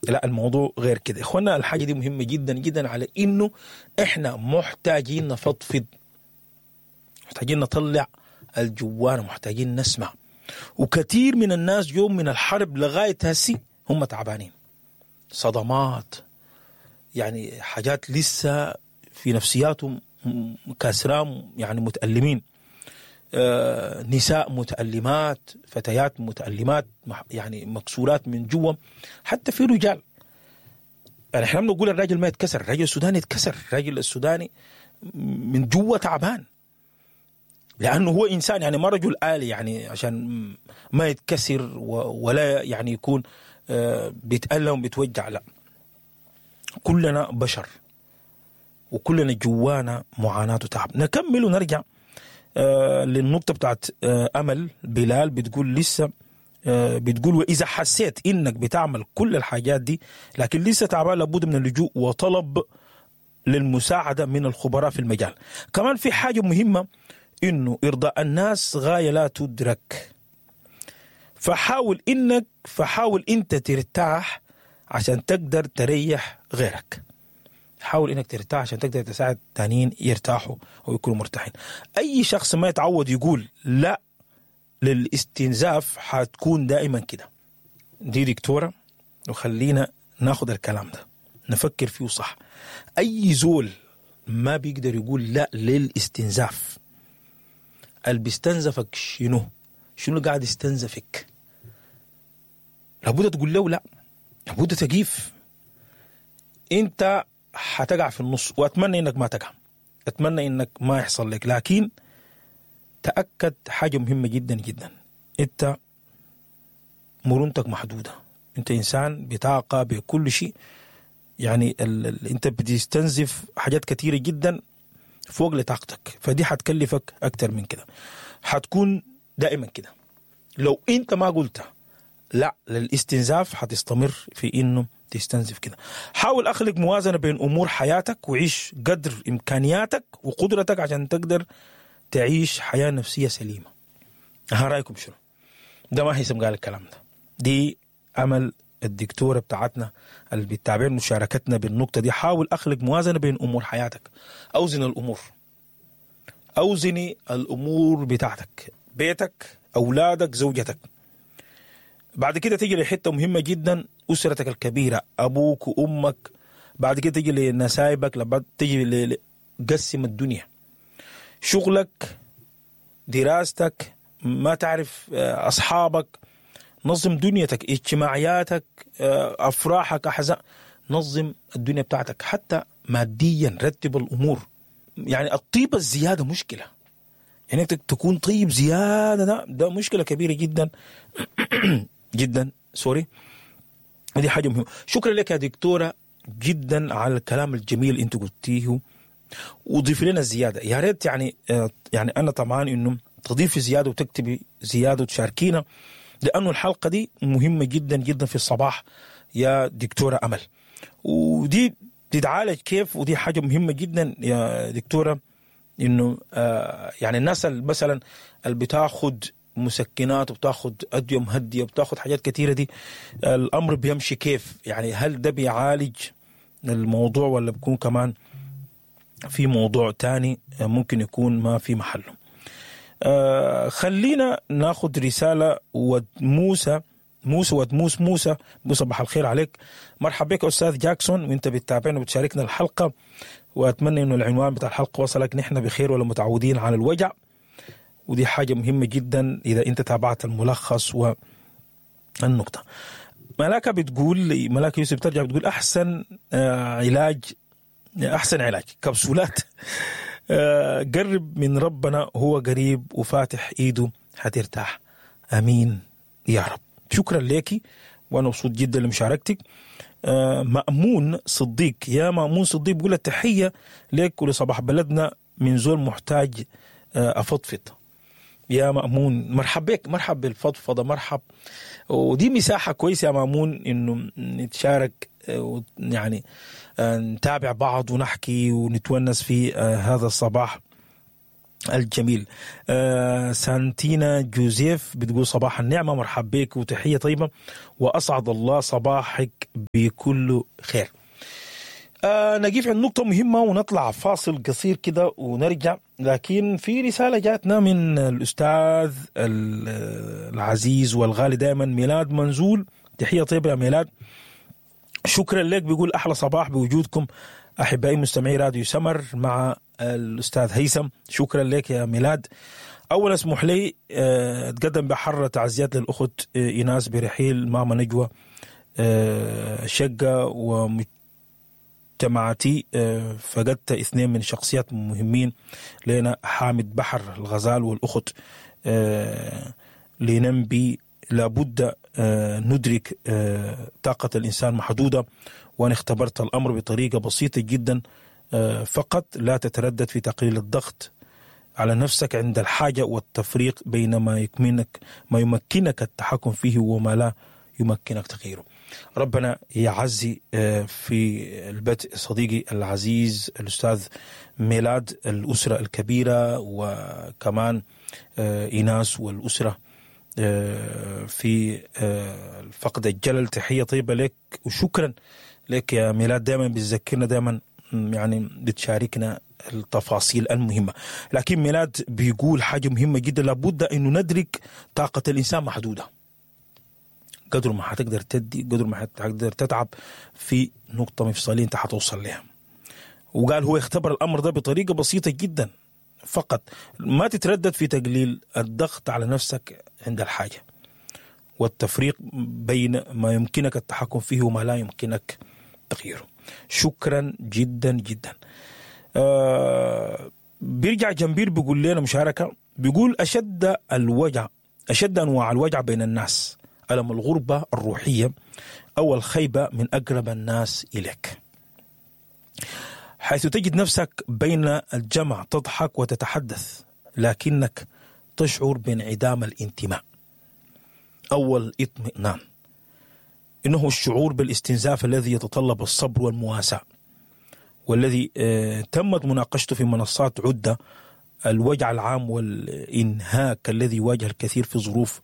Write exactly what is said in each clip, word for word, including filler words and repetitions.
لا، الموضوع غير كده. اخوانا، الحاجة دي مهمة جدا جدا، على انه احنا محتاجين نفضفض، محتاجين نطلع الجوانا، محتاجين نسمع. وكثير من الناس يوم من الحرب لغاية هسي هم تعبانين، صدمات، يعني حاجات لسه في نفسياتهم كاسرام، يعني متألمين. آه، نساء متألمات، فتيات متألمات، يعني مكسورات من جوا. حتى في رجال، يعني احنا بنقول الراجل ما يتكسر، الراجل السوداني يتكسر، الراجل السوداني من جوا تعبان لانه هو انسان، يعني ما رجل آلي يعني عشان ما يتكسر ولا يعني يكون آه، بيتألم وبيتوجع. لا، كلنا بشر وكلنا جوانا معاناة وتعب. نكمل ونرجع آه للنقطة بتاعت آه أمل بلال. بتقول لسه آه بتقول وإذا حسيت إنك بتعمل كل الحاجات دي لكن لسه تعبان، لابد من اللجوء وطلب للمساعدة من الخبراء في المجال. كمان في حاجة مهمة، إنه إرضاء الناس غاية لا تدرك، فحاول إنك فحاول أنت ترتاح عشان تقدر تريح غيرك. حاول انك ترتاح عشان تقدر تساعد تانيين يرتاحوا او يكونوا مرتاحين. اي شخص ما يتعود يقول لا للاستنزاف حتكون دائما كده. دي دكتورة، وخلينا ناخد الكلام ده نفكر فيه صح. اي زول ما بيقدر يقول لا للاستنزاف، اللي بيستنزفك شنو؟ شنو قاعد يستنزفك؟ لابد تقول له لا، لابد تقيف. انت حتقع في النص، واتمنى انك ما تقع، اتمنى انك ما يحصل لك، لكن تاكد حاجة مهمة جدا جدا، انت مرونتك محدودة، انت انسان بطاقة بكل شيء، يعني ال ال انت بتستنزف حاجات كثيرة جدا فوق لطاقتك، فدي حتكلفك اكتر من كده. حتكون دائما كده لو انت ما قلت لا للاستنزاف، حتستمر في انه تستنزف كده. حاول اخلق موازنه بين امور حياتك وعيش قدر امكانياتك وقدرتك عشان تقدر تعيش حياة نفسية سليمة. ها، رايكم شنو؟ ده ما هيثم قال الكلام ده، دي امل الدكتورة بتاعتنا اللي بتتابعنا مشاركتنا بالنقطة دي. حاول اخلق موازنه بين امور حياتك، اوزن الامور، اوزني الامور بتاعتك، بيتك، اولادك، زوجتك. بعد كده تيجي لحته مهمة جدا، اسرتك الكبيرة، ابوك وامك. بعد كده تيجي لنسايبك، لما تيجي ل... قسم الدنيا، شغلك، دراستك، ما تعرف، اصحابك، نظم دنيتك، اجتماعياتك، افراحك، احزان، نظم الدنيا بتاعتك حتى ماديا، رتب الامور. يعني الطيبة الزيادة مشكلة، يعني انت تكون طيب زيادة ده ده مشكلة كبيرة جدا جدا، sorry. ودي حاجة مهمة. شكرا لك يا دكتورة جدا على الكلام الجميل انت قلتيه، وضيف لنا زيادة يا ريت. يعني يعني انا طبعا انه تضيفي زيادة وتكتبي زيادة وتشاركينا، لانه الحلقة دي مهمة جدا جدا في الصباح يا دكتورة امل. ودي تتعالج كيف؟ ودي حاجة مهمة جدا يا دكتورة، انه آه يعني الناس مثلا اللي بتاخد مسكنات وبتاخد ادوية مهديه وبتاخد حاجات كثيرة دي، الامر بيمشي كيف؟ يعني هل ده بيعالج الموضوع ولا بيكون كمان في موضوع تاني ممكن يكون ما في محله؟ آه خلينا ناخد رسالة ود موسى، موسى ود موس موسى صباح الخير عليك. مرحبا بك استاذ جاكسون، وانت بتتابعنا وبتشاركنا الحلقة، واتمنى انه العنوان بتاع الحلقة وصلك. نحن بخير ولا متعودين على الوجع، ودي حاجة مهمة جدا اذا انت تابعت الملخص والنقطة. ملاكه بتقول، ملاكه يوسف ترجع بتقول احسن علاج، احسن علاج كبسولات، قرب من ربنا هو قريب وفاتح ايده حترتاح. امين يا رب. شكرا لك، وانا مبسوط جدا لمشاركتك. مأمون صديق، يا مأمون صديق بقول التحية لك ولصباح بلدنا من زول محتاج أفضفض. يا مأمون مرحب بك، مرحب بالفضفضة، مرحب. ودي مساحة كويسة يا مأمون إنه نتشارك، يعني نتابع بعض ونحكي ونتونس في هذا الصباح. الجميل. آه سانتينا جوزيف بتقول صباح النعمة، مرحب بك وتحية طيبة، وأسعد الله صباحك بكل خير. آه نقيف عند نقطة مهمة ونطلع فاصل قصير كده ونرجع، لكن في رسالة جاتنا من الأستاذ العزيز والغالي دائما ميلاد منزول. تحية طيبة يا ميلاد، شكرا لك. بيقول أحلى صباح بوجودكم أحبائي مستمعي راديو سمر مع الأستاذ هيثم. شكرا لك يا ميلاد. أولا اسمح لي أتقدم بحر تعزيات للأخت إيناس برحيل ماما نجوى شقة ومجتمعتي، فقدت اثنين من شخصيات مهمين لنا، حامد بحر الغزال والأخت لننبي. لابد ندرك طاقة الإنسان محدودة، وأنا اختبرت الأمر بطريقة بسيطة جدا، فقط لا تتردد في تقليل الضغط على نفسك عند الحاجة والتفريق بين ما يمكنك ما يمكنك التحكم فيه وما لا يمكنك تغييره. ربنا يعزي في البدء صديقي العزيز الأستاذ ميلاد، الأسرة الكبيرة، وكمان إيناس والأسرة في فقد الجلل. تحية طيبة لك وشكرا لك يا ميلاد، دائما بتذكرنا، دائما يعني بتشاركنا التفاصيل المهمة. لكن ميلاد بيقول حاجة مهمة جدا، لابد أنه ندرك طاقة الإنسان محدودة، قدر ما حتقدر تدي قدر ما حتقدر تتعب في نقطة مفصلية انت حتوصل لها. وقال هو اختبر الأمر ده بطريقة بسيطة جدا، فقط ما تتردد في تقليل الضغط على نفسك عند الحاجة والتفريق بين ما يمكنك التحكم فيه وما لا يمكنك تغييره. شكرا جدا جدا. آه بيرجع جنبير بيقول لنا مشاركة، بيقول أشد الوجع أشد أنواع الوجع بين الناس ألم الغربة الروحية أو الخيبة من أقرب الناس إليك، حيث تجد نفسك بين الجمع تضحك وتتحدث لكنك تشعر بانعدام الانتماء أو الاطمئنان. إنه الشعور بالاستنزاف الذي يتطلب الصبر والمواساة، والذي تمت مناقشته في منصات عدة، الوجع العام والإنهاك الذي يواجه الكثير في ظروف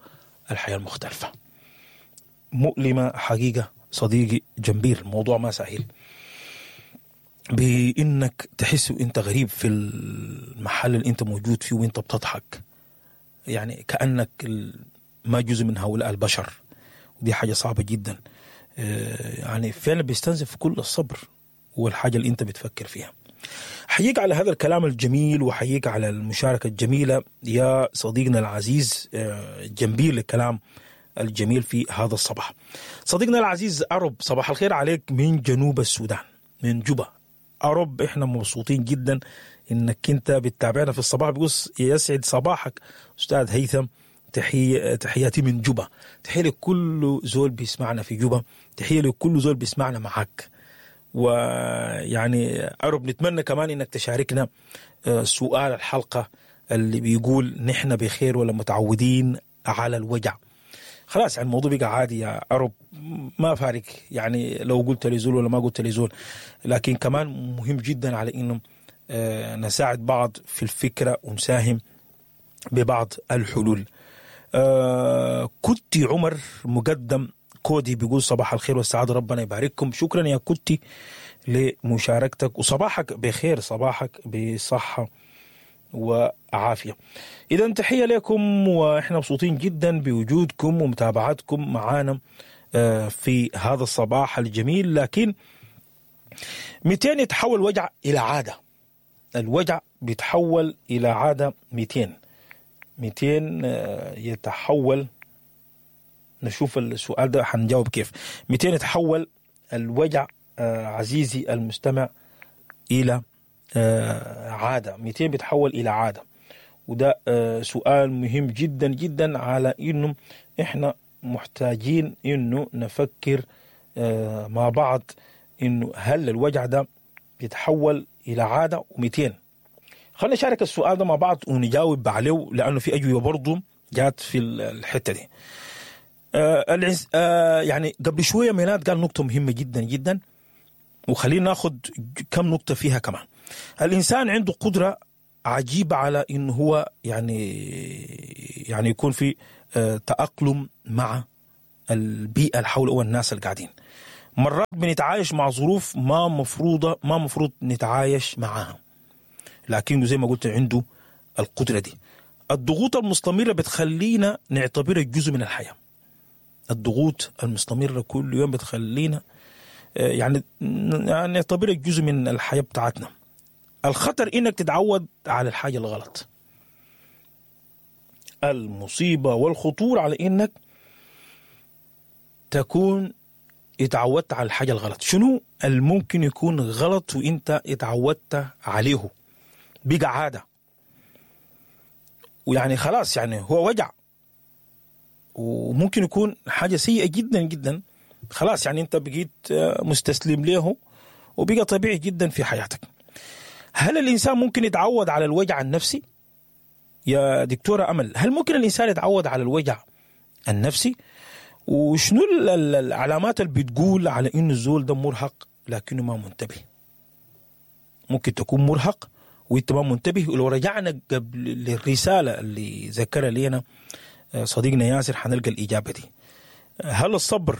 الحياة المختلفة. مؤلمة حقيقة صديقي جنبير، الموضوع ما سهل، بإنك تحس وإنت غريب في المحل اللي أنت موجود فيه وإنت بتضحك، يعني كأنك ما جزء من هؤلاء البشر، ودي حاجة صعبة جدا. يعني فعلا بيستنزف كل الصبر والحاجة اللي أنت بتفكر فيها. حييك على هذا الكلام الجميل وحييك على المشاركة الجميلة يا صديقنا العزيز جنبير، للكلام الجميل في هذا الصباح. صديقنا العزيز أرب، صباح الخير عليك من جنوب السودان، من جوبا. أرب إحنا مبسوطين جدا إنك أنت بتتابعنا في الصباح. بيقول يسعد صباحك أستاذ هيثم، تحية تحياتي من جوبا. تحية لكل زول بيسمعنا في جوبا، تحية لكل زول بيسمعنا معاك. ويعني أرب نتمنى كمان إنك تشاركنا سؤال الحلقة اللي بيقول نحن بخير ولا متعودين على الوجع. خلاص يعني الموضوع بقى عادي يا أرب، ما فارق يعني لو قلت لي زول ولا ما قلت لي زول، لكن كمان مهم جدا على إنه نساعد بعض في الفكرة ونساهم ببعض الحلول. كنت عمر مقدم كودي بيقول صباح الخير والسعادة، ربنا يبارككم. شكرا يا كنتي لمشاركتك، وصباحك بخير، صباحك بصحة وعافية. إذا تحية لكم، وإحنا مبسوطين جدا بوجودكم ومتابعتكم معانا في هذا الصباح الجميل. لكن مئتين يتحول وجع إلى عادة، الوجع بيتحول إلى عادة. مئتين مئتين يتحول، نشوف السؤال ده حنجاوب كيف. مئتين يتحول الوجع عزيزي المستمع إلى عادة، مئتين بيتحول إلى عادة، وده سؤال مهم جدا جدا على إنه إحنا محتاجين إنه نفكر مع بعض إنه هل الوجع ده بيتحول إلى عادة. ومئتين خلينا نشارك السؤال ده مع بعض ونجاوب عليه، لأنه في أجوبة برضو جات في الحتة دي. آه آه يعني قبل شوية ميلاد قال نقطة مهمة جدا جدا، وخلينا ناخد كم نقطة فيها كمان. الإنسان عنده قدرة عجيبة على إنه هو يعني يعني يكون في تأقلم مع البيئة اللي حوله والناس اللي قاعدين. مرات بنتعايش مع ظروف ما مفروضة ما مفروض نتعايش معاها، لكن زي ما قلت عنده القدرة دي. الضغوط المستمرة بتخلينا نعتبرها جزء من الحياة. الضغوط المستمرة كل يوم بتخلينا يعني نعتبرها جزء من الحياة بتاعتنا. الخطر إنك تتعود على الحاجة الغلط. المصيبة والخطورة على إنك تكون اتعودت على الحاجة الغلط. شنو الممكن يكون غلط وإنت اتعودت عليه؟ بقى عادة، ويعني خلاص يعني هو وجع، وممكن يكون حاجة سيئة جدا جدا. خلاص يعني انت بقيت مستسلم له وبقى طبيعي جدا في حياتك. هل الإنسان ممكن يتعود على الوجع النفسي؟ يا دكتورة أمل، هل ممكن الإنسان يتعود على الوجع النفسي؟ وشنو العلامات اللي بتقول على إنه الزول ده مرهق لكنه ما منتبه؟ ممكن تكون مرهق وانت ما منتبه. ولو رجعنا قبل للرسالة اللي ذكرها لنا صديقنا ياسر حنلقى الإجابة دي. هل الصبر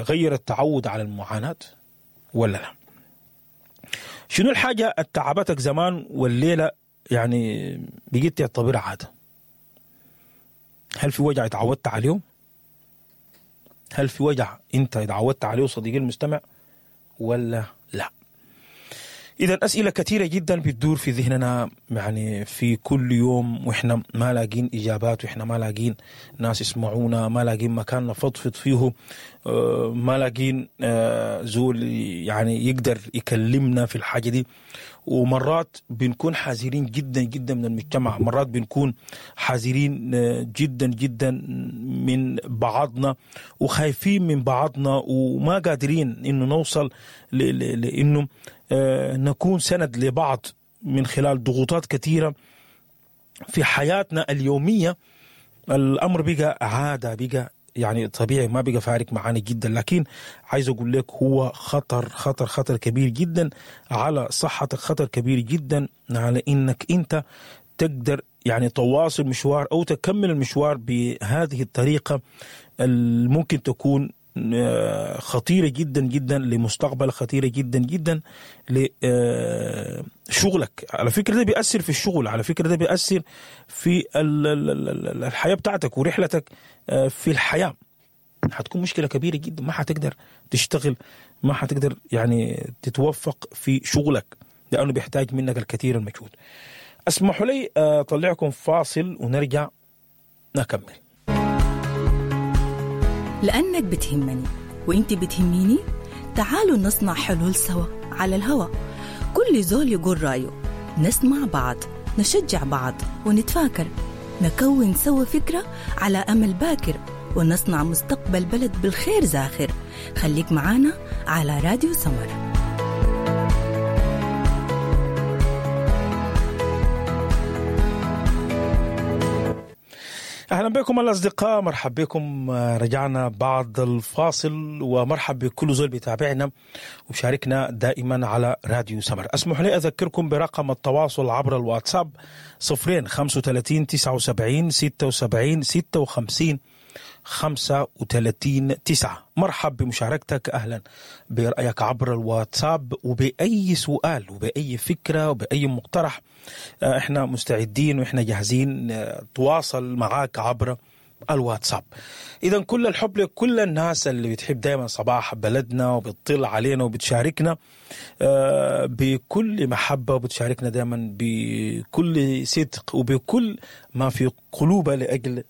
غير التعود على المعاناة ولا لا؟ شنو الحاجة التعبتك زمان والليلة يعني بقيت تعتبرها عادة؟ هل في وجع اتعودت عليه؟ هل في وجع انت اتعودت عليه صديقي المستمع ولا لا؟ إذا أسئلة كثيرة جدا بتدور في ذهننا يعني في كل يوم، وإحنا ما لاقين إجابات، وإحنا ما لاقين ناس يسمعونا، ما لاقين مكان نفضفض فيه، ما لاقين زول يعني يقدر يكلمنا في الحاجة دي. ومرات بنكون حذرين جدا جدا من المجتمع، مرات بنكون حذرين جدا جدا من بعضنا وخايفين من بعضنا، وما قادرين إنه نوصل لإنه نكون سند لبعض من خلال ضغوطات كثيرة في حياتنا اليومية. الأمر بقى عادة، بقى يعني طبيعي، ما بقى فارق معانا جدا، لكن عايز أقول لك هو خطر خطر خطر كبير جدا على صحتك، خطر كبير جدا على إنك أنت تقدر يعني تواصل مشوار أو تكمل المشوار بهذه الطريقة الممكن تكون خطيرة جدا جدا لمستقبل، خطيرة جدا جدا لشغلك. على فكرة ده بيأثر في الشغل، على فكرة ده بيأثر في الحياة بتاعتك ورحلتك في الحياة. هتكون مشكلة كبيرة جدا، ما هتقدر تشتغل، ما هتقدر يعني تتوفق في شغلك لأنه بيحتاج منك الكثير المجهود. اسمحوا لي أطلعكم فاصل ونرجع نكمل. لأنك بتهمني وإنت بتهميني، تعالوا نصنع حلول سوا على الهوا. كل زول يقول رأيه، نسمع بعض، نشجع بعض، ونتفاكر، نكون سوا فكرة على أمل باكر، ونصنع مستقبل بلد بالخير زاخر. خليك معانا على راديو سمر. أهلا بكم الأصدقاء، مرحب بكم. رجعنا بعد الفاصل، ومرحب بكل زول بيتابعنا وبشاركنا دائما على راديو سمر. أسمح لي أذكركم برقم التواصل عبر الواتساب صفرين خمسة وثلاثين تسعة وسبعين ستة وسبعين ستة وخمسين خمسة وثلاثين تسعة. مرحب بمشاركتك، أهلا برأيك عبر الواتساب، وبأي سؤال وبأي فكرة وبأي مقترح. احنا مستعدين واحنا جاهزين تواصل معاك عبر الواتساب. إذا كل الحب لكل الناس اللي بتحب دائما صباح بلدنا وبتطل علينا وبتشاركنا بكل محبة، وبتشاركنا دائما بكل صدق وبكل ما في قلوبها لأجل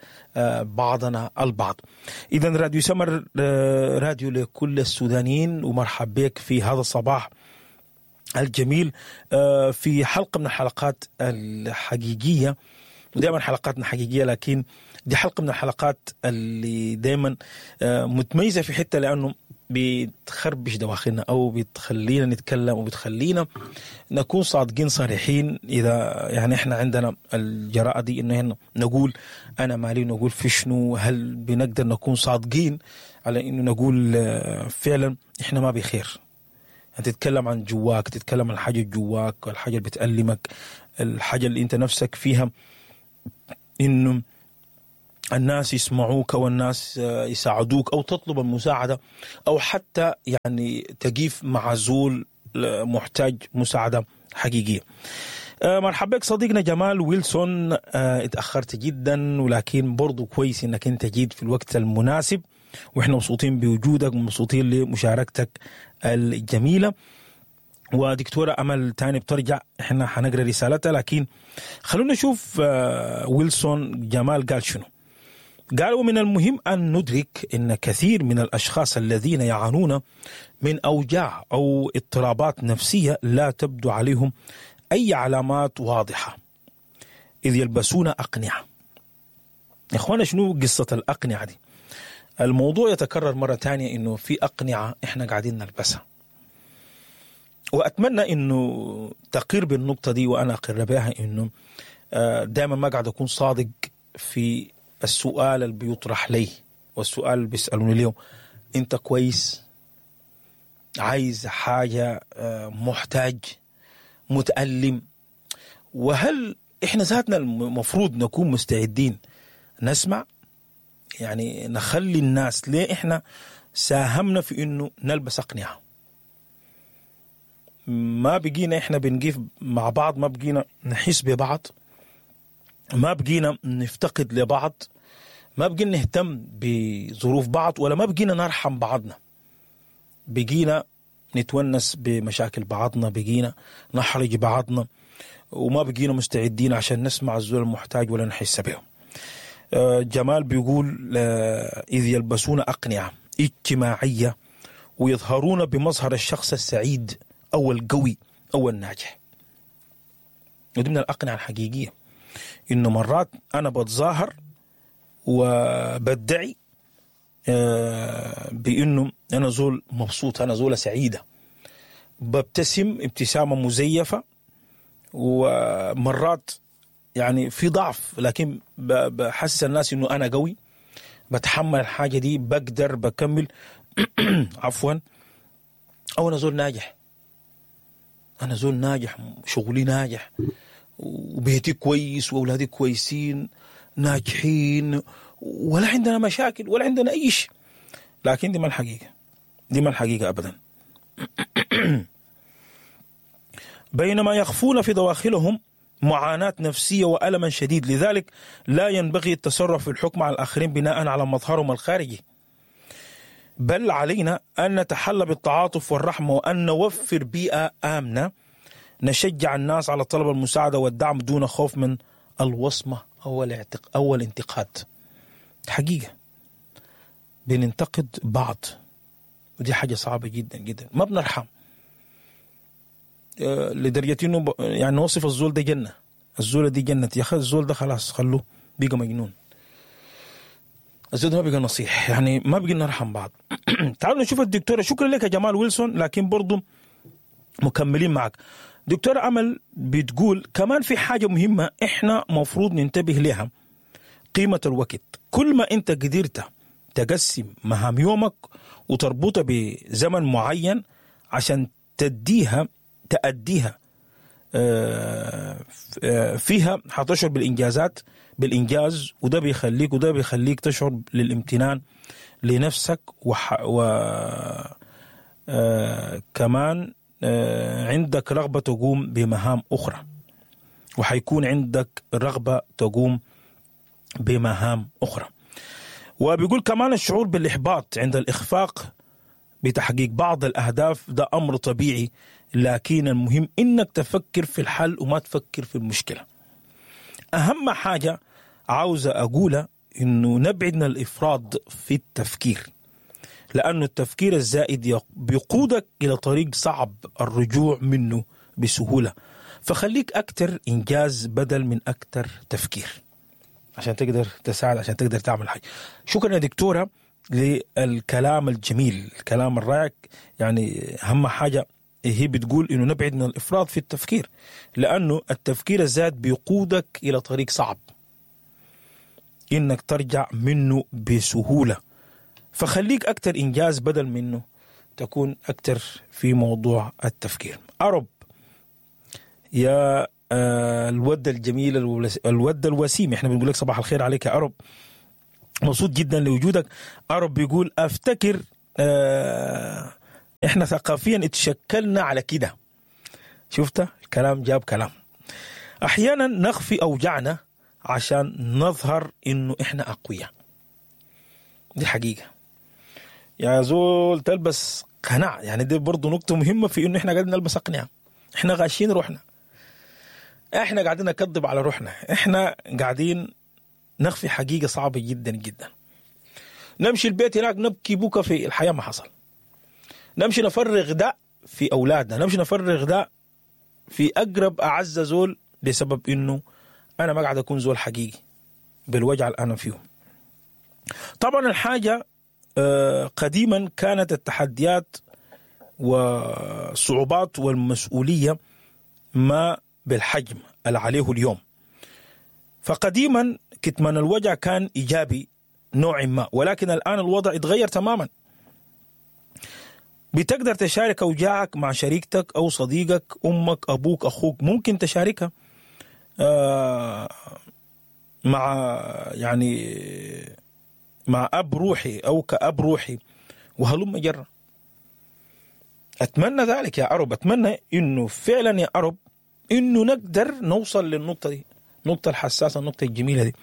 بعضنا البعض. إذا راديو سمر راديو لكل السودانيين، ومرحب بك في هذا الصباح الجميل في حلقة من الحلقات الحقيقية. ودائما حلقاتنا حقيقية، لكن دي حلقة من الحلقات اللي دائما متميزة في حتة، لأنه بتخربش دواخلنا أو بتخلينا نتكلم وبتخلينا نكون صادقين صريحين. إذا يعني إحنا عندنا الجراءة دي إنه نقول أنا مالي، نقول في شنو، هل بنقدر نكون صادقين على إنه نقول فعلا إحنا ما بخير؟ تتكلم عن جواك، تتكلم عن الحاجة جواك والحاجة اللي بتألمك، الحاجة اللي انت نفسك فيها، انه الناس يسمعوك والناس يساعدوك او تطلب المساعدة او حتى يعني تقيف مع زول محتاج مساعدة حقيقية. مرحبا بك صديقنا جمال ويلسون، اتأخرت جدا ولكن برضو كويس انك انت جيت في الوقت المناسب، واحنا مبسوطين بوجودك ومبسوطين لمشاركتك الجميلة. ودكتورة أمل تاني بترجع، احنا حنقرأ رسالتها، لكن خلونا نشوف ويلسون جمال قال شنو. قال: ومن المهم أن ندرك أن كثير من الأشخاص الذين يعانون من أوجاع أو اضطرابات نفسية لا تبدو عليهم أي علامات واضحة، إذ يلبسون أقنعة. يا إخوانا شنو قصة الأقنعة دي؟ الموضوع يتكرر مرة تانية، إنه في أقنعة إحنا قاعدين نلبسها، وأتمنى إنه تقر بالنقطة دي وأنا أقر بها، إنه دائما ما قاعد أكون صادق في السؤال اللي بيطرح لي والسؤال اللي بيسألوني اليوم: أنت كويس؟ عايز حاجة؟ محتاج؟ متألم؟ وهل إحنا ذاتنا المفروض نكون مستعدين نسمع؟ يعني نخلي الناس، ليه إحنا ساهمنا في إنه نلبس أقنعة؟ ما بقينا إحنا بنقيف مع بعض، ما بقينا نحس ببعض، ما بقينا نفتقد لبعض، ما بقينا نهتم بظروف بعض، ولا ما بقينا نرحم بعضنا. بقينا نتونس بمشاكل بعضنا، بقينا نحرج بعضنا، وما بقينا مستعدين عشان نسمع الزول المحتاج ولا نحس به. جمال بيقول: إذ يلبسون أقنعة اجتماعية ويظهرون بمظهر الشخص السعيد أو القوي أو الناجح. ودي من الأقنعة الحقيقية، إنه مرات أنا بتظاهر وبدعي بإنه أنا زول مبسوط، أنا زولة سعيدة، ببتسم ابتسامة مزيفة، ومرات يعني في ضعف، لكن بحسس الناس إنه أنا قوي، بتحمل الحاجة دي، بقدر بكمل عفوا، أو أنا زول ناجح، أنا زول ناجح، شغلي ناجح، وبيتي كويس، وأولادي كويسين ناجحين، ولا عندنا مشاكل ولا عندنا أي شيء. لكن دي ما الحقيقة، دي ما الحقيقة أبدا. بينما يخفون في دواخلهم معاناة نفسية وألما شديد، لذلك لا ينبغي التصرف في الحكم على الآخرين بناء على مظهرهم الخارجي، بل علينا أن نتحلى بالتعاطف والرحمة، وأن نوفر بيئة آمنة نشجع الناس على طلب المساعدة والدعم دون خوف من الوصمة أو الاعتق أو الانتقاد. حقيقة بننتقد بعض، ودي حاجة صعبة جدا جدا، ما بنرحم لدرجة إنه يعني نوصف الزول ده جنة، الزولة دي جنة، يا أخي الزول ده خلاص خلوه بقى مجنون، الزول ده ما بقى نصيح، يعني ما بقى نرحم بعض. تعالوا نشوف الدكتورة. شكرا لك يا جمال ويلسون، لكن برضو مكملين معك. دكتورة أمل بتقول كمان في حاجة مهمة إحنا مفروض ننتبه لها: قيمة الوقت. كل ما أنت قدرت تقسم مهام يومك وتربطها بزمن معين عشان تديها تأديها فيها، هتشعر بالإنجازات، بالإنجاز، وده بيخليك وده بيخليك تشعر للامتنان لنفسك، وح و كمان عندك رغبة تقوم بمهام أخرى، وحيكون عندك رغبة تقوم بمهام أخرى. وبيقول كمان الشعور بالإحباط عند الإخفاق بتحقيق بعض الأهداف ده أمر طبيعي، لكن المهم إنك تفكر في الحل وما تفكر في المشكلة. أهم حاجة عاوزة أقولها إنه نبعد من الإفراط في التفكير، لأنه التفكير الزائد بيقودك إلى طريق صعب الرجوع منه بسهولة. فخليك أكتر إنجاز بدل من أكتر تفكير عشان تقدر تساعد، عشان تقدر تعمل حاجة. شكرا يا دكتورة للكلام الجميل، الكلام الرائع. يعني أهم حاجة هي بتقول إنه نبعد من الإفراط في التفكير، لأنه التفكير الزائد بيقودك إلى طريق صعب إنك ترجع منه بسهولة. فخليك أكتر إنجاز بدل منه تكون أكتر في موضوع التفكير. أرب يا آه الود الجميل، الود الوسيم. احنا بنقول لك صباح الخير عليك يا أرب، مبسوط جدا لوجودك. أرب بيقول أفتكر آه احنا ثقافيا اتشكلنا على كده. شفت الكلام جاب كلام. احيانا نخفي اوجعنا عشان نظهر انه احنا اقوياء. دي حقيقة يا زول، تلبس قناع. يعني دي برضو نقطة مهمة في انه احنا قاعدين نلبس اقنعه، احنا غاشين روحنا، احنا قاعدين نكذب على روحنا، احنا قاعدين نخفي حقيقة صعبة جدا جدا. نمشي البيت هناك نبكي بكى في الحياة ما حصل، نمشي نفرغ ده في اولادنا، نمشي نفرغ ده في اقرب اعز زول، بسبب انه انا ما قاعد اكون زول حقيقي بالوجع اللي انا فيه. طبعا الحاجة قديما كانت التحديات والصعوبات والمسؤولية ما بالحجم اللي عليه اليوم. فقديما كتمان الوجع كان ايجابي نوع ما، ولكن الان الوضع اتغير تماما. بتقدر تشارك أوجاعك مع شريكتك أو صديقك، أمك، أبوك، أخوك، ممكن تشاركها آه مع يعني مع أب روحي أو كأب روحي وهلم جرة. أتمنى ذلك يا أرب، أتمنى إنه فعلا يا أرب إنه نقدر نوصل للنقطة دي، النقطة الحساسة، النقطة الجميلة دي،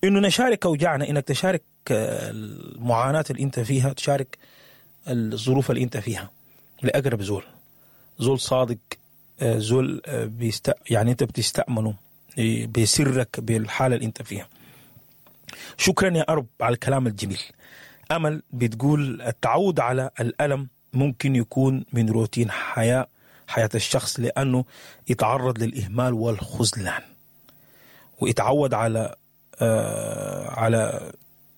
إنه نشارك أوجاعنا، إنك تشارك المعاناة اللي أنت فيها، تشارك الظروف اللي انت فيها لأقرب زول، زول صادق، زول بيست... يعني انت بتستأمنه بسرك بالحالة اللي انت فيها. شكرا يا أرب على الكلام الجميل. أمل بتقول التعود على الألم ممكن يكون من روتين حياة حياة الشخص، لأنه يتعرض للإهمال والخذلان، ويتعود على آه على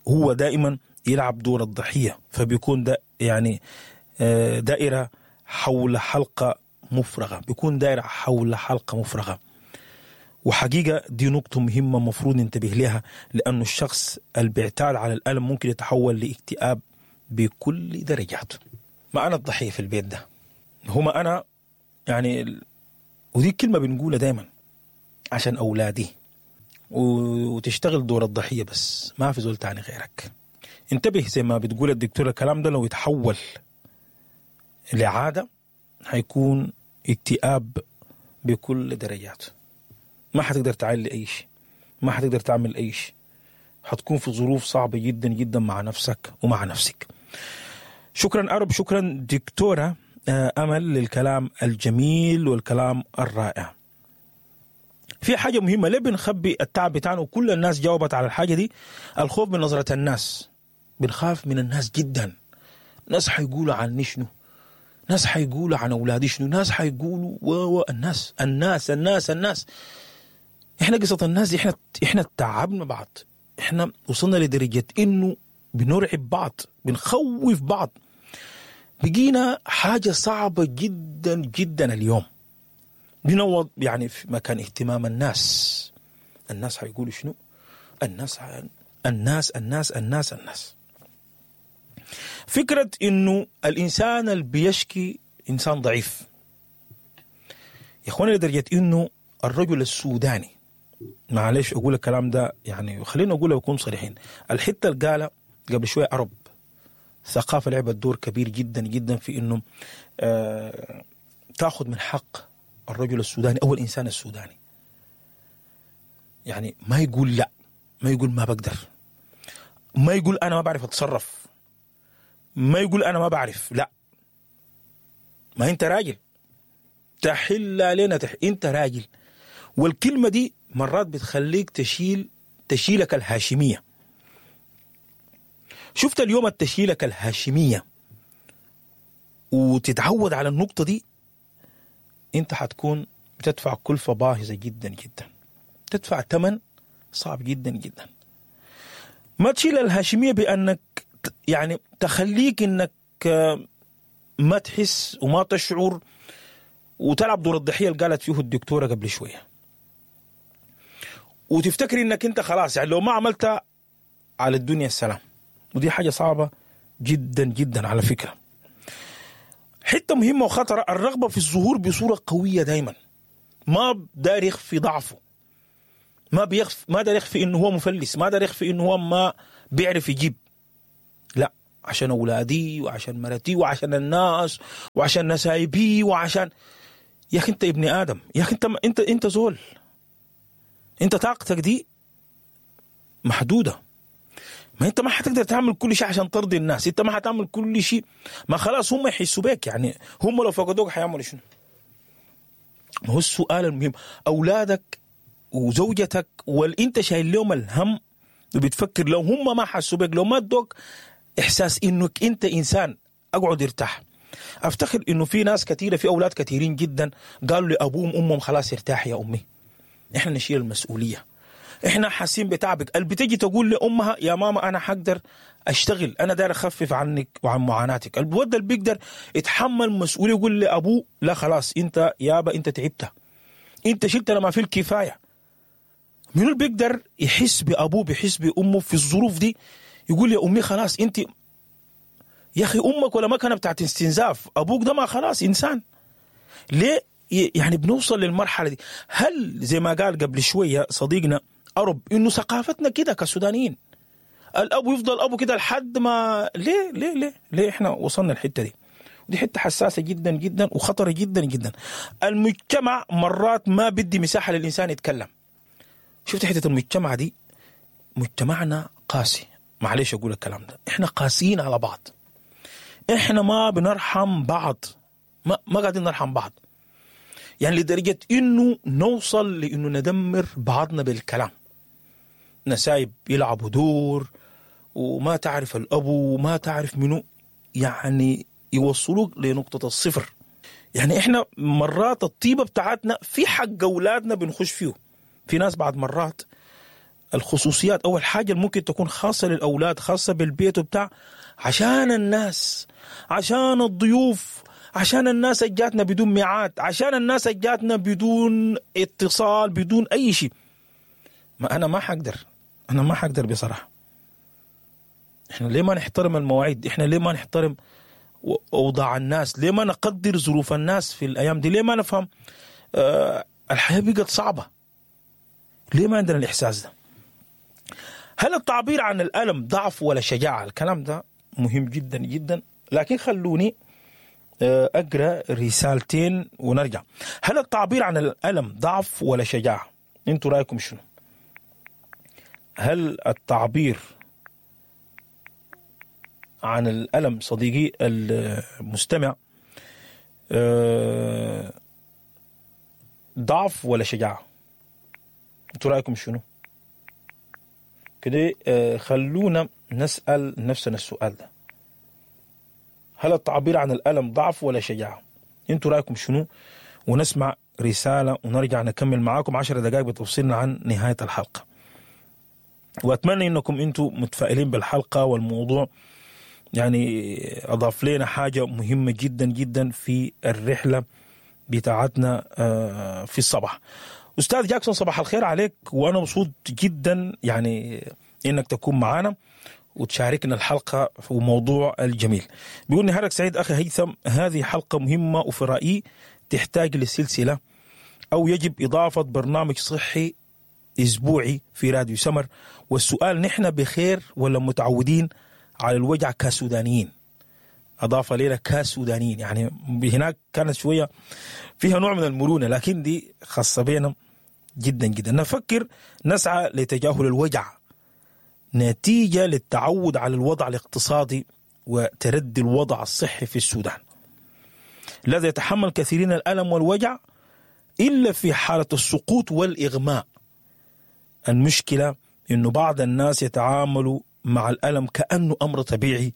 هو دائما يلعب دور الضحية، فبيكون ده يعني دائرة حول حلقة مفرغة، بيكون دائرة حول حلقة مفرغة. وحقيقة دي نقطة مهمة مفروض ننتبه لها، لأنه الشخص اللي بيعتاد على الألم ممكن يتحول لاكتئاب بكل درجاته. ما أنا الضحية في البيت ده، هما أنا يعني، ودي كلمة بنقولها دايما عشان أولادي، وتشتغل دور الضحية بس ما في زول تاني غيرك. انتبه زي ما بتقول الدكتور، الكلام ده لو يتحول لعادة هيكون اكتئاب بكل درجاته. ما حتقدر تعمل أي شيء، ما حتقدر تعمل أي شيء، حتكون في ظروف صعبة جدا جدا مع نفسك ومع نفسك. شكرا أرب، شكرا دكتورة أمل للكلام الجميل والكلام الرائع. في حاجة مهمة، ليه بنخبي التعب بتاعنا؟ وكل الناس جاوبت على الحاجة دي، الخوف من نظرة الناس. بنخاف من الناس جدا، ناس حيقولوا عني شنو، ناس حيقولوا عن أولادي شنو، ناس حيقولوا و و الناس الناس الناس الناس. احنا قصة الناس دي احنا احنا تعبنا بعض، احنا وصلنا لدرجة انه بنرعب بعض، بنخوف بعض، بقينا حاجة صعبة جدا جدا اليوم. بنوض يعني في مكان اهتمام الناس، الناس حيقولوا شنو، الناس الناس الناس الناس الناس. فكرة إنه الإنسان اللي بيشكي إنسان ضعيف يا إخواني، لدرجة إنه الرجل السوداني، معلش أقول الكلام ده يعني خلينا أقوله وأكون صريحين، الحتة اللي قالها قبل شوية أرب، الثقافة لعبت دور كبير جدا جدا في إنه آه تأخذ من حق الرجل السوداني أو الإنسان السوداني، يعني ما يقول لا، ما يقول ما بقدر، ما يقول أنا ما بعرف أتصرف، ما يقول أنا ما بعرف، لا، ما أنت راجل، تحل علينا تح... أنت راجل. والكلمة دي مرات بتخليك تشيل تشيلك الهاشمية. شفت اليوم التشيلك الهاشمية وتتعود على النقطة دي، أنت حتكون بتدفع كلفة باهظة جدا جدا، تدفع ثمن صعب جدا جدا. ما تشيل الهاشمية بأنك يعني تخليك انك ما تحس وما تشعر وتلعب دور الضحية اللي قالت فيه الدكتورة قبل شوية، وتفتكر انك انت خلاص يعني لو ما عملت على الدنيا السلام. ودي حاجة صعبة جدا جدا على فكرة. حتة مهمة وخطرة، الرغبة في الظهور بصورة قوية دايما. ما داير يخفي ضعفه، ما بيخفي، ما داير يخفي انه هو مفلس، ما داير يخفي انه هو ما بيعرف يجيب. لا، عشان اولادي وعشان مرتي وعشان الناس وعشان نسايبي وعشان، يا اخي انت ابن ادم، يا اخي انت انت انت زول، انت طاقتك دي محدودة. ما انت ما حتقدر تعمل كل شيء عشان ترضي الناس، انت ما حتعمل كل شيء، ما خلاص هم يحسوا بك، يعني هم لو فقدوك حيعملوا شنو؟ ما هو السؤال المهم، اولادك وزوجتك والانت شايل لهم الهم وبتفكر لو هم ما حسوا بك، لو ما ادوك احساس انك انت انسان اقعد ارتاح. افتخر انه في ناس كثيرة، في اولاد كثيرين جدا قالوا لابوهم امهم خلاص ارتاح يا امي، احنا نشيل المسؤولية، احنا حاسين بتعبك. اللي بتجي تقول لامها يا ماما انا حقدر اشتغل، انا داير اخفف عنك وعن معاناتك. الود اللي بيقدر يتحمل مسؤولية يقول لابوه لا خلاص انت يابا انت تعبت، انت شلت لما في الكفاية. من اللي بيقدر يحس بابوه بيحس بامه في الظروف دي يقول يا امي خلاص انت، يا اخي امك ولا مكنه بتاعت استنزاف، ابوك ده ما خلاص انسان. ليه يعني بنوصل للمرحلة دي؟ هل زي ما قال قبل شوية صديقنا أرب إنه ثقافتنا كده كسودانيين، الأب يفضل أبو كده لحد ما، ليه ليه ليه ليه إحنا وصلنا الحتة دي؟ ودي حتة حساسة جدا جدا وخطرة جدا جدا. المجتمع مرات ما بدي مساحة للإنسان يتكلم. شفت حتة المجتمع دي؟ مجتمعنا قاسي، معلش أقول الكلام ده، إحنا قاسيين على بعض، إحنا ما بنرحم بعض، ما ما قاعدين نرحم بعض، يعني لدرجة إنه نوصل لإنه ندمر بعضنا بالكلام. نسايب يلعبوا دور وما تعرف الأبو وما تعرف منو، يعني يوصلوك لنقطة الصفر. يعني إحنا مرات الطيبة بتاعتنا في حق أولادنا بنخش فيه. في ناس بعد مرات الخصوصيات أول حاجة ممكن تكون خاصة للأولاد، خاصة بالبيت وبتاع، عشان الناس، عشان الضيوف، عشان الناس جاتنا بدون ميعاد، عشان الناس جاتنا بدون اتصال، بدون أي شيء. ما أنا ما حقدر، أنا ما حقدر بصراحة. إحنا ليه ما نحترم المواعيد؟ إحنا ليه ما نحترم أوضاع الناس؟ ليه ما نقدر ظروف الناس في الأيام دي؟ ليه ما نفهم آه الحياة بقت صعبة؟ ليه ما عندنا الإحساس ده؟ هل التعبير عن الألم ضعف ولا شجاعة؟ الكلام ده مهم جدا جدا، لكن خلوني أقرأ رسالتين ونرجع. هل التعبير عن الألم ضعف ولا شجاعة؟ انتوا رأيكم شنو؟ هل التعبير عن الألم صديقي المستمع ضعف ولا شجاعة؟ انتوا رأيكم شنو؟ كده خلونا نسأل نفسنا السؤال ده، هل التعبير عن الألم ضعف ولا شجاعة؟ انتوا رأيكم شنو؟ ونسمع رسالة ونرجع نكمل معاكم عشر دقائق بتفصلنا عن نهاية الحلقة. وأتمنى إنكم انتوا متفائلين بالحلقة، والموضوع يعني أضاف لنا حاجة مهمة جدا جدا في الرحلة بتاعتنا في الصباح. أستاذ جاكسون صباح الخير عليك، وأنا مبسوط جدا يعني إنك تكون معانا وتشاركنا الحلقة في موضوع الجميل. بيقول نهارك سعيد أخي هيثم، هذه حلقة مهمة وفي رأيي تحتاج لسلسلة، أو يجب إضافة برنامج صحي أسبوعي في راديو سمر. والسؤال، نحن بخير ولا متعودين على الوجع كسودانيين؟ أضاف لنا كسودانيين، يعني هناك كانت شوية فيها نوع من المرونة، لكن دي خاصة بينا جدا جدا. نفكر نسعى لتجاهل الوجع نتيجة للتعود على الوضع الاقتصادي وتردي الوضع الصحي في السودان الذي يتحمل كثيرين الألم والوجع إلا في حالة السقوط والإغماء. المشكلة إنه بعض الناس يتعاملوا مع الألم كأنه أمر طبيعي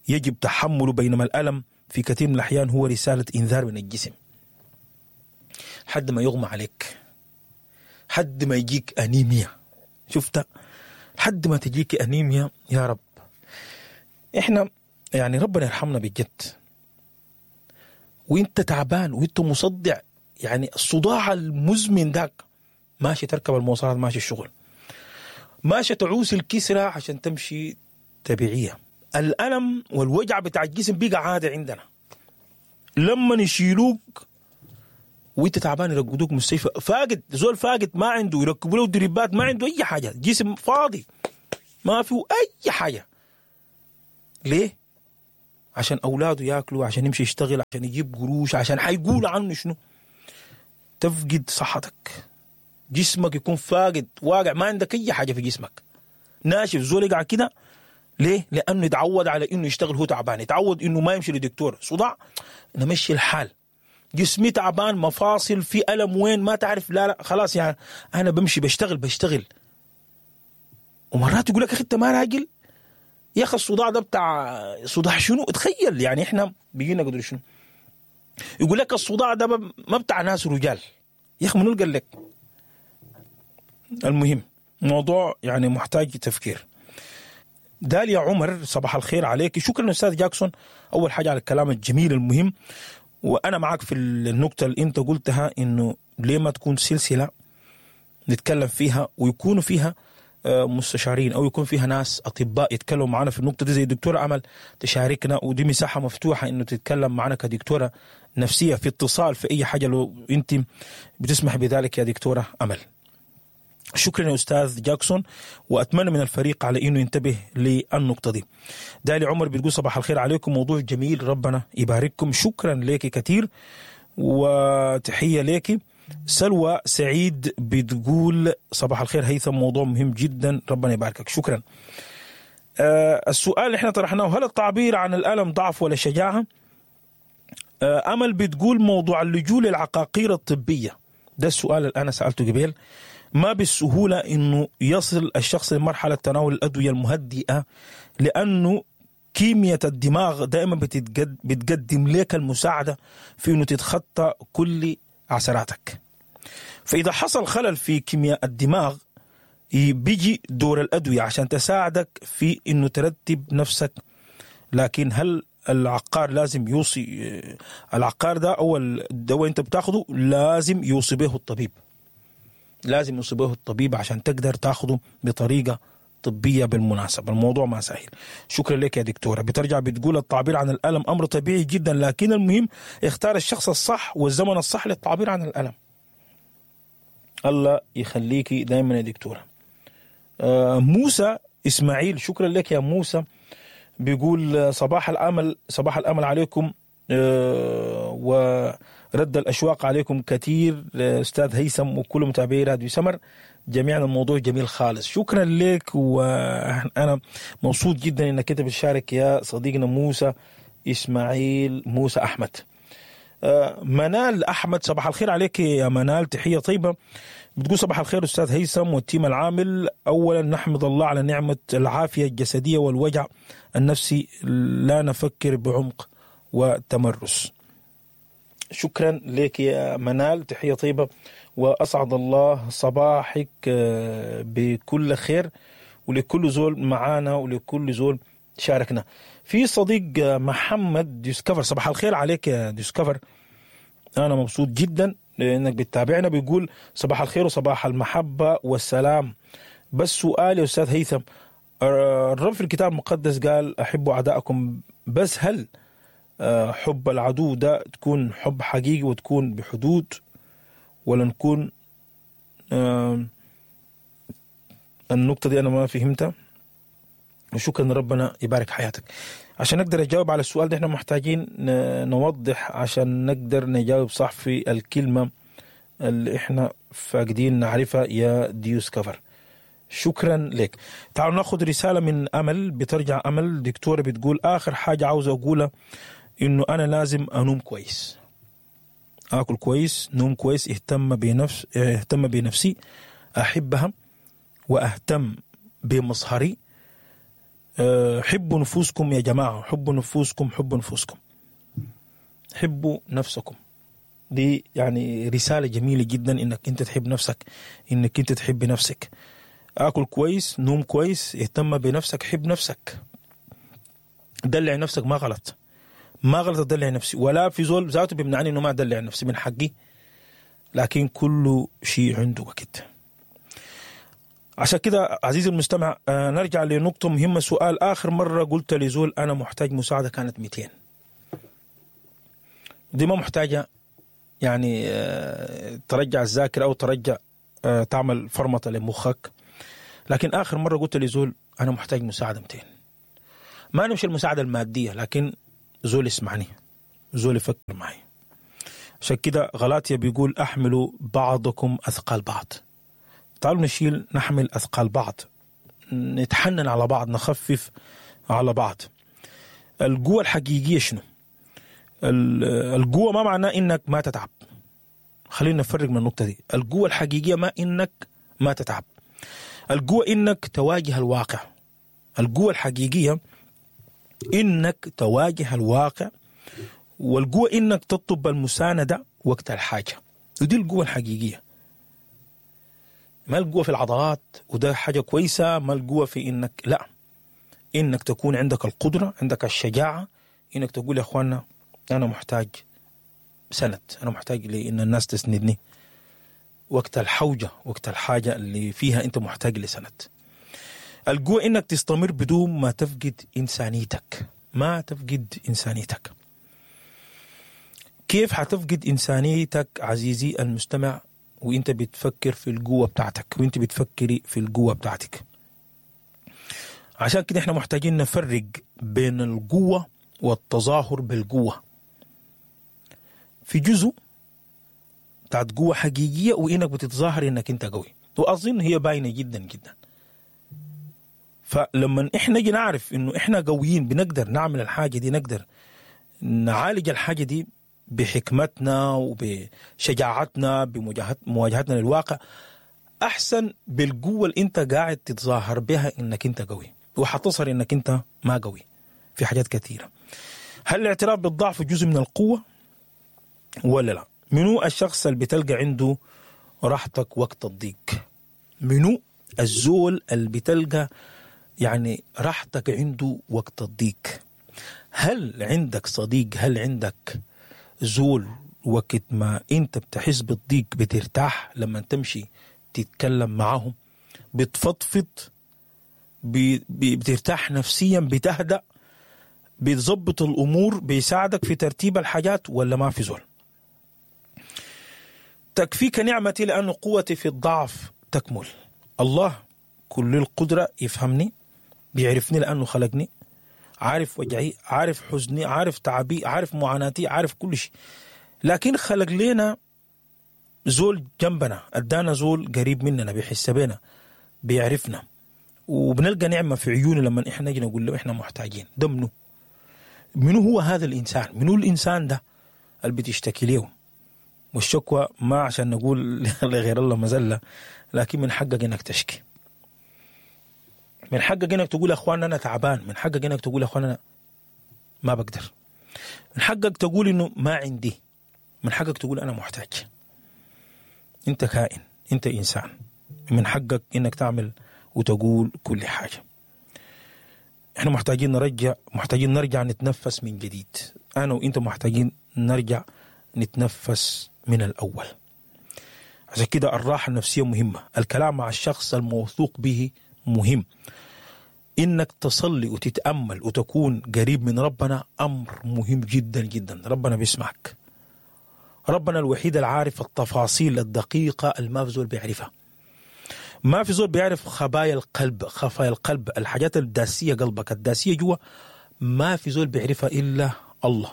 يجب تحمله، بينما الألم في كثير من الأحيان هو رسالة إنذار من الجسم. حد ما يغمى عليك، حد ما يجيك أنيميا، شفت؟ حد ما تجيك أنيميا. يا رب إحنا يعني ربنا يرحمنا بجد. وإنت تعبان وإنت مصدع، يعني الصداع المزمن داك، ماشي تركب المواصلات، ماشي الشغل، ماشي تعوس الكسرة عشان تمشي تبعية. الألم والوجع بتاع الجسم بقى عادة عندنا. لما نشيلوك وانت تعبان يرقدوك مستشفى، فاقد زول فاقد ما عنده، يركبوا له دريبات ما عنده اي حاجة، جسم فاضي ما فيه اي حاجة. ليه؟ عشان اولاده ياكلوا، عشان يمشي يشتغل، عشان يجيب قروش، عشان حيقول عنه شنو. تفقد صحتك، جسمك يكون فاقد واقع، ما عندك اي حاجة في جسمك، ناشف. زول يقع كده ليه؟ لانه يتعود على انه يشتغل هو تعبان، يتعود انه ما يمشي لدكتور، صداع نمشي الحال، جسمي تعبان، مفاصل في ألم وين ما تعرف، لا لا خلاص يعني انا بمشي بشتغل بشتغل. ومرات يقول لك اخي انت ما راجل يا اخي، الصداع ده بتاع صداع شنو؟ تخيل يعني احنا بيجينا قدر شنو. يقول لك الصداع ده ما بتاع ناس رجال يا اخي، منو قال لك؟ المهم موضوع يعني محتاج تفكير. داليا عمر صباح الخير عليك، شكرا استاذ جاكسون اول حاجة على الكلام الجميل المهم، وانا معك في النقطة اللي انت قلتها انه ليه ما تكون سلسلة نتكلم فيها ويكونوا فيها مستشارين او يكون فيها ناس اطباء يتكلموا معنا في النقطة دي، زي الدكتورة امل تشاركنا، ودي مساحة مفتوحة انه تتكلم معنا كدكتوره نفسية في اتصال في اي حاجة لو انت بتسمح بذلك يا دكتورة امل. شكرا يا استاذ جاكسون، واتمنى من الفريق على انه ينتبه للنقطة دي. دالي عمر بتقول صباح الخير عليكم، موضوع جميل ربنا يبارككم، شكرا لك كثير وتحية لك. سلوى سعيد بتقول صباح الخير هيثم، موضوع مهم جدا ربنا يباركك، شكرا. آه السؤال اللي احنا طرحناه، هل التعبير عن الألم ضعف ولا شجاعة؟ آه أمل بتقول موضوع اللجوء للعقاقير الطبية، ده السؤال اللي أنا سألته قبل، ما بالسهولة إنه يصل الشخص لمرحلة تناول الأدوية المهدئة، لأنه كيمياء الدماغ دائما بتتقد بتقدم لك المساعدة في إنه تتخطى كل عثراتك. فإذا حصل خلل في كيمياء الدماغ بيجي دور الأدوية عشان تساعدك في إنه ترتب نفسك. لكن هل العقار لازم يوصي؟ العقار ده أو الدواء أنت بتاخده لازم يوصي به الطبيب، لازم يوصي به الطبيب عشان تقدر تاخده بطريقة طبية. بالمناسبة الموضوع ما سهل. شكرا لك يا دكتورة. بترجع بتقول التعبير عن الألم أمر طبيعي جدا، لكن المهم اختار الشخص الصح والزمن الصح للتعبير عن الألم. الله يخليكي دايما يا دكتورة. آه موسى إسماعيل، شكرا لك يا موسى، بيقول صباح الأمل، صباح الأمل عليكم آه ورد الأشواق عليكم كثير أستاذ هيثم وكل متابعي راديو سمر جميعا، الموضوع جميل خالص، شكرا لك، وأنا مبسوط جدا إنك أنت بتشارك يا صديقنا موسى إسماعيل موسى أحمد. منال أحمد صباح الخير عليك يا منال، تحية طيبة. بتقول صباح الخير أستاذ هيثم والتيم العامل، أولا نحمد الله على نعمة العافية الجسدية والوجع النفسي، لا نفكر بعمق وتمرس. شكرا لك يا منال، تحية طيبة، وأسعد الله صباحك بكل خير ولكل زول معانا ولكل زول شاركنا. في صديق محمد ديسكفر، صباح الخير عليك يا ديسكفر، أنا مبسوط جدا لأنك بتتابعنا. بيقول صباح الخير وصباح المحبة والسلام، بس سؤال يا أستاذ هيثم، الرب في الكتاب المقدس قال أحبوا أعداءكم، بس هل حب العدو ده تكون حب حقيقي وتكون بحدود، ولا نكون النقطة دي أنا ما فهمتها؟ وشكرا ربنا يبارك حياتك. عشان نقدر نجاوب على السؤال ده احنا محتاجين نوضح عشان نقدر نجاوب صح في الكلمة اللي احنا فاقدين نعرفها يا ديوس كفر. شكرا لك. تعالوا ناخذ رسالة من أمل. بترجع أمل دكتورة بتقول آخر حاجة عاوزة أقولها إنه أنا لازم أنوم كويس، آكل كويس، نوم كويس، اهتم بنفس اهتم بنفسي، أحبها وأهتم بمظهري. حبوا نفوسكم يا جماعة، حبوا نفوسكم، حبوا نفوسكم، حبوا نفسكم. دي يعني رسالة جميلة جدا، إنك أنت تحب نفسك، إنك أنت تحب نفسك. آكل كويس، نوم كويس، اهتم بنفسك، حب نفسك، دلع نفسك. ما غلط، ما غلط أدلع نفسي، ولا في زول ذاته بيمنعني إنه ما أدلع نفسي، من حقي، لكن كل شيء عنده وقت. عشان كده عزيزي المستمع نرجع لنقطة مهمة. سؤال آخر مرة قلت لزول أنا محتاج مساعدة كانت مئتين. دي ما محتاجة يعني ترجع الذاكرة أو ترجع تعمل فرمطة لمخك. لكن آخر مرة قلت لزول أنا محتاج مساعدة متين، ما نمشي المساعدة المادية، لكن زول يسمعني، زول يفكر معي. عشان كده غلاطيا بيقول أحملوا بعضكم أثقال بعض. تعالوا نشيل نحمل أثقال بعض، نتحنن على بعض، نخفف على بعض. القوة الحقيقية شنو؟ القوة ما معناه إنك ما تتعب. خلينا نفرق من النقطة دي. القوة الحقيقية ما إنك ما تتعب، القوة إنك تواجه الواقع. القوة الحقيقية إنك تواجه الواقع، والقوة إنك تطلب المساندة وقت الحاجة. ودي القوة الحقيقية. ما القوة في العضلات وده حاجة كويسة، ما القوة في إنك لا، إنك تكون عندك القدرة، عندك الشجاعة إنك تقول يا أخوانا أنا محتاج سند، أنا محتاج لإن الناس تسندني وقت الحوجة، وقت الحاجة اللي فيها أنت محتاج لسند. القوة إنك تستمر بدون ما تفقد إنسانيتك، ما تفقد إنسانيتك. كيف حتفقد إنسانيتك عزيزي المستمع وإنت بتفكر في القوة بتاعتك، وإنت بتفكري في القوة بتاعتك؟ عشان كده إحنا محتاجين نفرق بين القوة والتظاهر بالقوة. في جزء بتاعت قوة حقيقية وإنك بتتظاهر إنك أنت قوي، وأظن هي باينة جدا جدا. فلما إحنا نجي نعرف إنه إحنا قويين، بنقدر نعمل الحاجة دي، نقدر نعالج الحاجة دي بحكمتنا وبشجاعتنا، بمواجهتنا للواقع، أحسن بالقوة اللي أنت قاعد تتظاهر بها إنك أنت قوي، وحتصر إنك أنت ما قوي في حاجات كثيرة. هل الاعتراف بالضعف جزء من القوة ولا لا؟ منو الشخص اللي بتلقى عنده راحتك وقت الضيق؟ منو الزول اللي بتلقى يعني راحتك عنده وقت الضيق؟ هل عندك صديق؟ هل عندك زول وقت ما انت بتحس بالضيق بترتاح لما تمشي تتكلم معهم، بتفضفض، بترتاح نفسيا، بتهدأ، بتظبط الأمور، بيساعدك في ترتيب الحاجات، ولا ما في زول؟ تكفيك نعمتي لأن قوتي في الضعف تكمل. الله كل القدرة يفهمني، بيعرفني لأنه خلقني، عارف وجعي، عارف حزني، عارف تعبي، عارف معاناتي، عارف كل شيء. لكن خلق لنا زول جنبنا، ادانا زول قريب مننا، بيحس بينا، بيعرفنا، وبنلقى نعمة في عيونه لما احنا نجي نقول له احنا محتاجين. ده منو؟ منو هو هذا الإنسان؟ منو الإنسان ده اللي بتشتكي له؟ والشكوى ما عشان نقول لغير الله مزلة، لكن من حقك انك تشكي، من حقك انك تقول يا اخوان انا تعبان، من حقك انك تقول يا اخوان انا ما بقدر، من حقك تقول انه ما عندي، من حقك تقول انا محتاج. انت كائن، انت انسان، من حقك انك تعمل وتقول كل حاجة. احنا محتاجين نرجع، محتاجين نرجع نتنفس من جديد. انا وانت محتاجين نرجع نتنفس من الأول. عشان كده الراحة النفسية مهمة، الكلام مع الشخص الموثوق به مهم، إنك تصلي وتتأمل وتكون قريب من ربنا أمر مهم جدا جدا. ربنا بيسمعك، ربنا الوحيد العارف التفاصيل الدقيقة اللي ما في زول بيعرفها، ما في زول بيعرف خبايا القلب، خفايا القلب، الحاجات الداسية قلبك، الداسية جوا، ما في زول بيعرفها إلا الله.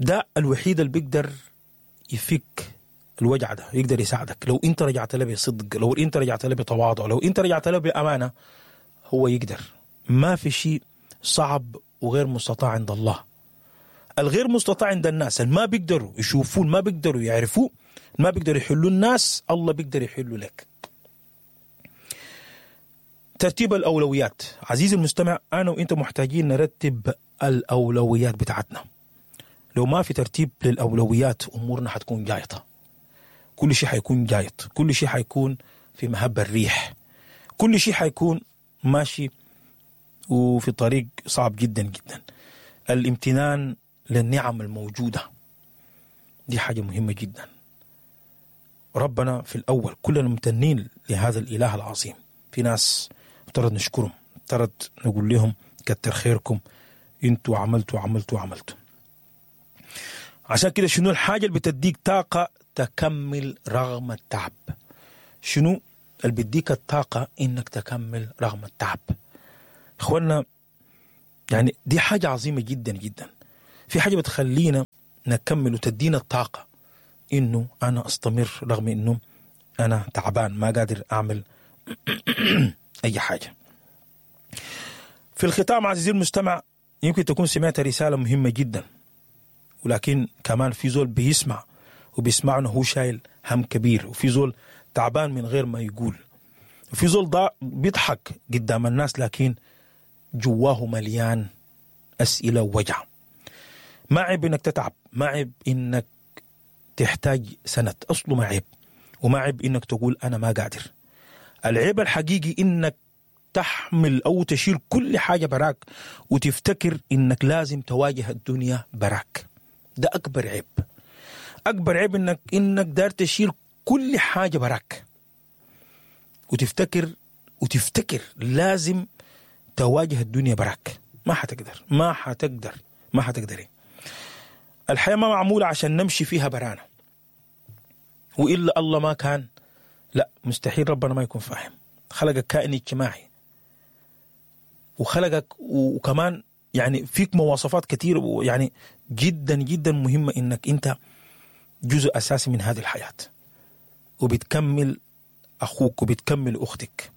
ده الوحيد اللي بيقدر يفك الوجع ده، يقدر يساعدك لو انت رجعت له بصدق، لو انت رجعت له بتواضع، لو انت رجعت له بأمانة، هو يقدر. ما في شيء صعب وغير مستطاع عند الله. الغير مستطاع عند الناس اللي ما بيقدروا يشوفون، ما بيقدروا يعرفوه، ما بيقدروا يحلوا الناس، الله بيقدر يحلوا لك. ترتيب الأولويات عزيزي المستمع، أنا وإنت محتاجين نرتب الأولويات بتاعتنا. لو ما في ترتيب للأولويات أمورنا حتكون جايطة، كل شيء حيكون جايط، كل شيء حيكون في مهب الريح، كل شيء حيكون ماشي وفي طريق صعب جدا جدا. الامتنان للنعم الموجودة دي حاجة مهمة جدا. ربنا في الأول كلنا ممتنين لهذا الإله العظيم. في ناس افترض نشكرهم، افترض نقول لهم كتر خيركم، انتوا عملتوا عملتوا عملتوا. عشان كده شنو الحاجة اللي بتديك طاقة تكمل رغم التعب؟ شنو اللي بيديك الطاقة إنك تكمل رغم التعب؟ إخوانا يعني دي حاجة عظيمة جدا جدا. في حاجة بتخلينا نكمل وتدينا الطاقة إنه أنا أستمر رغم إنه أنا تعبان ما قادر أعمل أي حاجة. في الختام عزيزي المستمع، يمكن تكون سمعت رسالة مهمة جدا، ولكن كمان في زول بيسمع وبيسمعنا هو شايل هم كبير، وفي زول تعبان من غير ما يقول، وفي زول ضا بيضحك قدام الناس لكن جواه مليان أسئلة ووجع. ما عيب إنك تتعب، ما عيب إنك تحتاج سند، أصله ما عيب، وما عيب إنك تقول أنا ما قادر. العيب الحقيقي إنك تحمل أو تشيل كل حاجة براك وتفتكر إنك لازم تواجه الدنيا براك. ده أكبر عيب. أكبر عيب إنك إنك دار تشيل كل حاجة براك وتفتكر وتفتكر لازم تواجه الدنيا براك. ما حتقدر، ما حتقدر، ما حتقدري. الحياة ما معمولة عشان نمشي فيها برانا، وإلا الله ما كان، لا مستحيل ربنا ما يكون فاهم. خلقك كائن اجتماعي، وخلقك وكمان يعني فيك مواصفات كتير يعني جدا جدا مهمة إنك أنت جزء أساسي من هذه الحياة، وبتكمل أخوك وبتكمل أختك.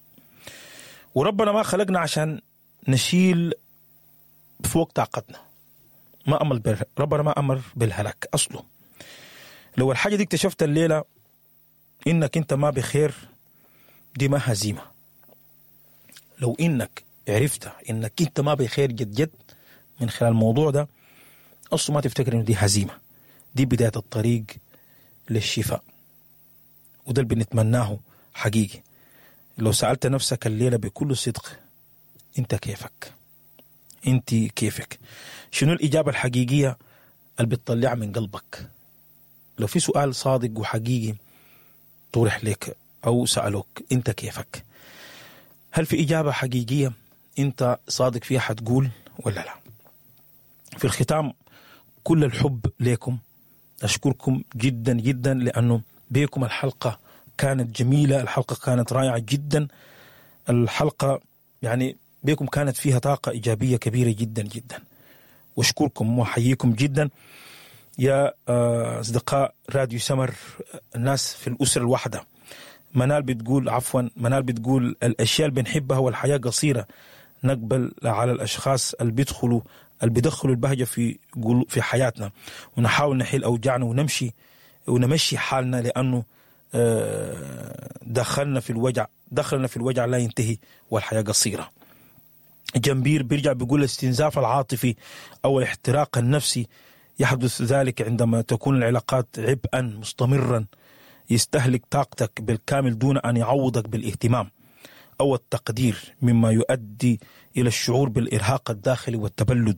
وربنا ما خلقنا عشان نشيل فوق طاقتنا. ما أمر بال... ربنا ما أمر بالهلاك أصله. لو الحاجة دي اكتشفت الليلة إنك أنت ما بخير، دي ما هزيمة. لو إنك عرفت إنك أنت ما بخير جد جد من خلال الموضوع ده، أصله ما تفتكر إنه دي هزيمة، دي بداية الطريق للشفاء، وده اللي بنتمناه حقيقي. لو سألت نفسك الليلة بكل صدق، أنت كيفك؟ أنت كيفك؟ شنو الإجابة الحقيقية اللي بتطلع من قلبك؟ لو في سؤال صادق وحقيقي طرح لك أو سألوك أنت كيفك، هل في إجابة حقيقية أنت صادق فيها حتقول ولا لا؟ في الختام كل الحب لكم، أشكركم جدا جدا لأنه بيكم الحلقة كانت جميلة، الحلقة كانت رائعة جدا، الحلقة يعني بيكم كانت فيها طاقة إيجابية كبيرة جدا جدا. واشكركم وحييكم جدا يا أصدقاء راديو سمر، الناس في الأسرة الواحدة. منال بتقول عفوا منال بتقول الأشياء اللي بنحبها والحياة قصيرة، نقبل على الأشخاص اللي بيدخلوا اللي بيدخلوا البهجة في في حياتنا، ونحاول نحل أوجاعنا ونمشي ونمشي حالنا، لأنه دخلنا في الوجع دخلنا في الوجع لا ينتهي والحياة قصيرة. جنبير بيرجع بيقول الاستنزاف العاطفي أو الاحتراق النفسي يحدث ذلك عندما تكون العلاقات عبئا مستمرا يستهلك طاقتك بالكامل دون أن يعوضك بالاهتمام أو التقدير، مما يؤدي إلى الشعور بالإرهاق الداخلي والتبلد.